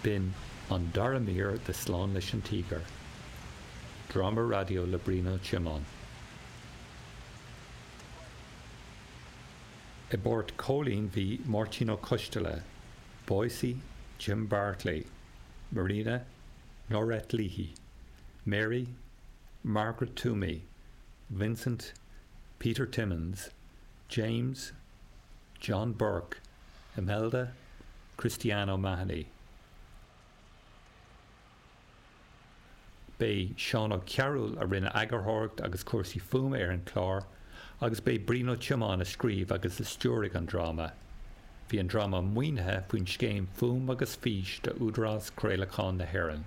B'in an dara mír de Slán leis an Tíogar, dráma raidió le Brian Ó Tiomáin. I bpáirt Chóilín bhí Máirtín Ó Coisteala, Boycie, Jim Bartley, Marina, Norette Leahy, Mary, Margaret Toomey, Vincent, Peter Timmins, James, John Burke, Imelda, Christiane O'Mahony. B'é Seán Ó Cearúil a rinne eagarthóireacht agus cúrsaí fuaime ar an chlár agus b'é Brian Ó Tiomáin a scríobh agus a stiúraigh an dráma. Bhí an dráma maoinithe faoin scéim Fuaim agus Fís d'Údarás Craolacháin na hÉireann.